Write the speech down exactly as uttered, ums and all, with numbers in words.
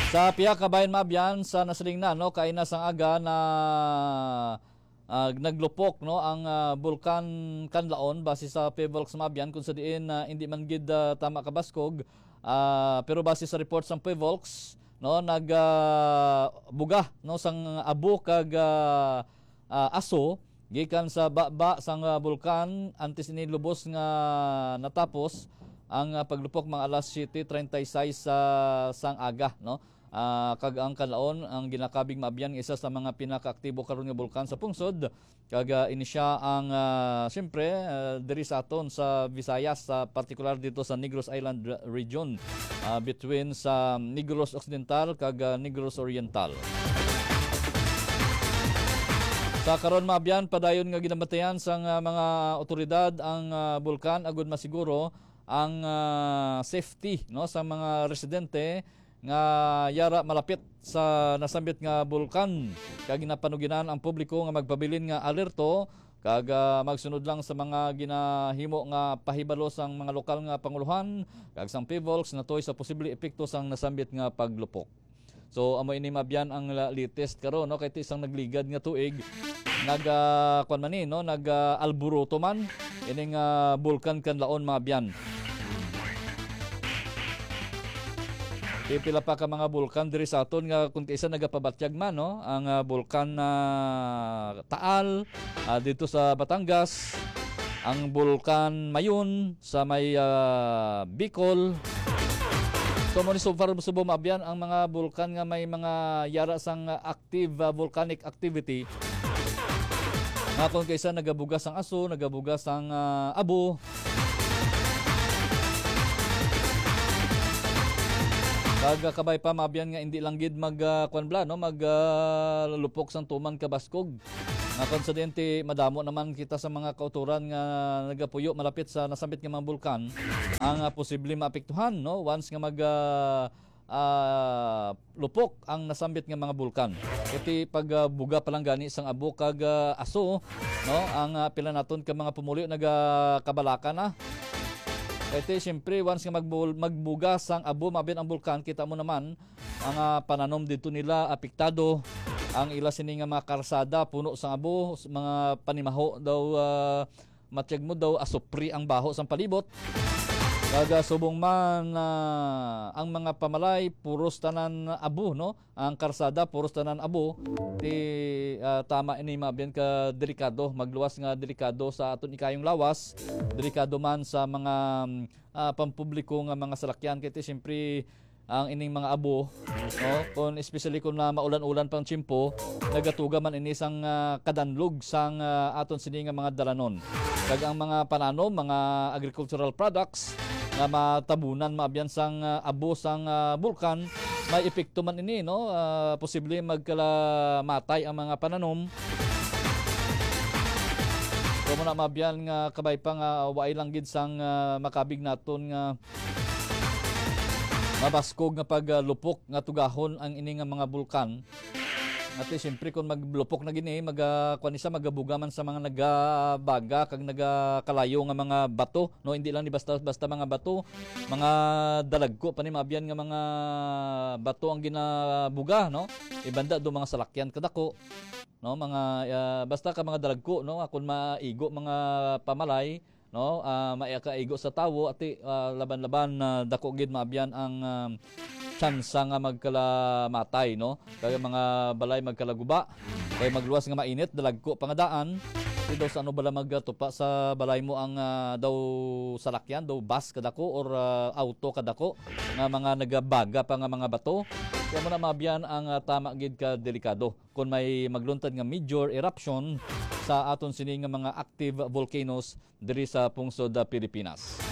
Sa pihak kabayan, maabyan, sa nasiling na, no, kaina sang aga na, ah, naglupok, no, ang, ah, Bulkan Kanlaon base sa PHIVOLCS, maabyan, kung sa diin, ah, hindi man gid, ah, tama kabaskog, ah, pero base sa report sang PHIVOLCS, no, nag, ah, buga, no, sang abo kag, ah, ah, aso gikan sa baba sang, ah, bulkan antes ini lubos nga natapos ang, ah, paglupok mga alas siete treinta y seis sa sang aga, no? Ah, kag ang Kanlaon ang ginakabig maabyan nga isa sa mga pinakaaktibo karon nga bulkan sa pungsod, kag, ah, ini sia ang, ah, siyempre, ah, diri sa aton sa Visayas, sa partikular dito sa Negros Island re-, region, ah, between sa Negros Occidental kag, ah, Negros Oriental. Sa karon, maabyan, padayon nga ginabatayan sang, ah, mga otoridad ang, ah, bulkan agud masiguro ang, ah, safety, no, sa mga residente nga yara malapit sa nasambit nga bulkan, kag ginapanuginan ang publiko nga magpabilin nga alerto kag, ah, magsunod lang sa mga ginahimo nga pahibalo sang mga lokal nga pangulohan kag sang PHIVOLCS natuy sa posible epekto sang nasambit nga paglupok. So, amo ini, maabyan, ang la-, latest karon, no? Kay ti isang nagligad nga tuig, nag, ah, kwan man ni, no? Nag, ah, alburuto man ining, ah, Bulkan Kanlaon, maabyan. Pipila pa ka mga bulkan diri sa aton nga kung kaisa nagapabatyag man, no? Ang, ah, Bulkan, ah, Taal, ah, dito sa Batangas, ang Bulkan Mayon sa may, ah, Bicol. So, mo ni so far, subong maabyan ang mga bulkan nga may mga yara sang, ah, active, ah, volcanic activity. Nga kung kaisa nagabugas ang aso, nagabugas ang, ah, abo. Kag, ah, kabay pa, maabyan nga hindi lang gid mag, ah, kwan bala, no? Mag, ah, lupok sang tuman kabaskog. Nga kung sa diin ti madamo naman kita sa mga kautoran nga nagapuyo malapit sa nasambit nga mga bulkan, ang, ah, posible maapektuhan, no? Once nga mag, ah, ah, lupok ang nasambit nga mga bulkan. Iti pag, ah, buga pa lang gani sang abo kag, ah, aso, no? Ang, ah, pila naton ka mga pumuluyo nagakabalaka na. Iti, siyempre, once nga magbul-, magbuga sang abo, maabyan, ang bulkan, kita mo naman, ang, ah, pananom didto nila apektado. Ang ila sini nga mga karsada puno sang abo, s-, mga panimaho daw, ah, matyag mo daw asupri ang baho sang palibot. Kag, ah, subong man, ah, ang mga pamalay puros tanan abo, no? Ang karsada puros tanan abo. Ti, ah, tama ini, maabyan, ka delikado, magluwas nga delikado sa aton ikayong lawas, delikado man sa mga, mm, ah, pampubliko nga mga salakyan. Kay ti, siyempre, ang ining mga abo, no? Kung, especially kung na maulan-ulan pang tiyempo, nagatuga man ini sang, ah, kadanlog sang, ah, aton sini nga mga dalanon. Kag ang mga pananom, mga agricultural products nga matabunan, maabyan, sang, ah, abo sang, ah, bulkan, may epekto man ini, no? Ah, posible magkalamatay ang mga pananom. Kamo na, maabyan, nga kabay pa nga waay lang gid sang, ah, makabig naton nga mabaskog nga paglupok nga tugahon ang ini nga mga bulkan. Ati, siyempre, kung maglupok na gini, mag, ah, kuwan ni siya, magabuga man sa mga nagabaga kag nagakalayo nga mga bato, no? Hindi lang ni basta-basta mga bato, mga dalagko pa ni, maabyan, nga mga bato ang ginabuga, no? Ibanda do mga salakyan kadako, no? Mga, ah, basta ka mga dalagko, no? Kung maigo mga pamalay, no? Ah, maikaigo sa tawo, ati, ah, laban-laban na dako gid, maabyan, ang, ah, tsansa nga magkalamatay, no? Kag mga balay magkalaguba, kay magluwas nga mainit, dalagko pa nga daan. Ti daw sa ano bala magtupa sa balay mo ang, ah, daw salakyan, daw bus kadako or, ah, auto kadako nga mga nagabaga pa nga mga bato. Kaya mo na, maabyan, ang, ah, tama gid ka delikado kon may magluntad nga major eruption sa aton sini nga mga active volcanoes diri sa pungsod, ah, Pilipinas.